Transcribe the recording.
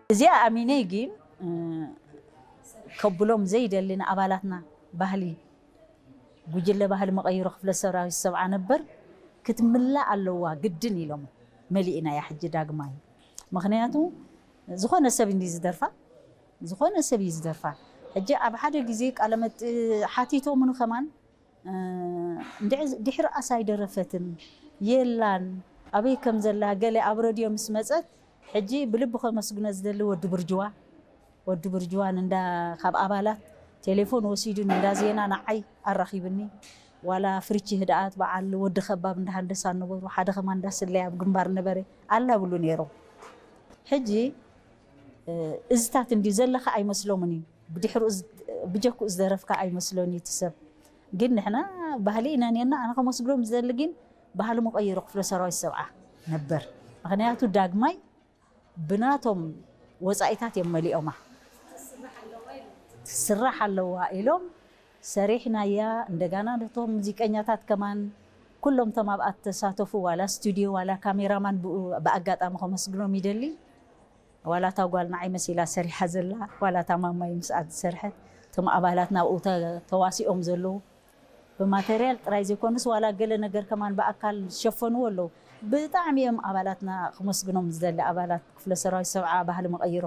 እዚኣ ኣሚነይ ግን ከብሎም ዘይደሊ ንኣባላትና ባህሊ ጉጅለ ባህሊ መቐይሮ ክፍለ ሰራዊት ሰብዓ ነበር ክትምላእ ኣለዋ ግድን ኢሎም። መሊእና እያ ሕጂ ዳግማይ። ምክንያቱ ዝኾነ ሰብ እንዲ ዝደርፋ ዝኾነ ሰብ እዩ ዝደርፋ። ሕጂ ኣብ ሓደ ግዜ ቃለመጥ ሓቲቶምኒ ከማን ድሕሪ ኣስ ኣይደረፈትን የላን ኣበይ ከም ዘላ ገለ ኣብ ረድዮ ምስ መፀት ሕጂ ብልቢ ከመስግኖ ዝደሊ ወዲ ብርጅዋ ወዲ ብርጅዋን እንዳ ካብ ኣባላት ቴሌፎን ወሲዱን እንዳ ዜና ንዓይ ኣራኺብኒ። ዋላ ፍርቺ ህድኣት በዓል ወዲ ከባብ እንዳ ሃንደሳ ነበሩ ሓደ ከማን እንዳ ስለይ ኣብ ግንባር ነበረ ኣላ ብሉ ነይሮም። ሕጂ እዝታት እንዲ ዘለካ ኣይመስሎምን እዩ ብድሕሩ ብጀኩ ዝደረፍካ ኣይመስሎን እዩ እቲ ሰብ። ግን ንሕና ባህሊ ኢና ነርና ኣነ ከመስግኖም ዝደሊ ግን ባህሊ መቀየሮ ክፍለ ሰራዊት ሰብዓ ነበር። ምክንያቱ ዳግማይ ብናቶም ወፃኢታት እዮም መሊኦማ። ትስራሕ ኣለዋ ኢሎም ሰሪሕናያ። እንደጋና ነቶም ሙዚቀኛታት ከማን ኩሎም ቶም ኣብኣ ተሳተፉ ዋላ ስቱድዮ ዋላ ካሜራማን ብኣጋጣሚ ከመስግኖም ይደሊ። ዋላ እታ ጓል ንዓይ መሲላ ሰሪሓ ዘላ ዋላ እታ ማማይ ምስኣ ዝሰርሐት እቶም ኣባላት ናብኡ ተዋሲኦም ዘለዉ ብማተርያል ጥራይ ዘይኮኑስ ዋላ ገለ ነገር ከማን ብኣካል ዝሸፈንዎ ኣለዉ። ብጣዕሚ እዮም ኣባላትና ክመስግኖም ዝደሊ ኣባላት ክፍለ ሰራዊት ሰብዓ ባህሊ መቐይሮ።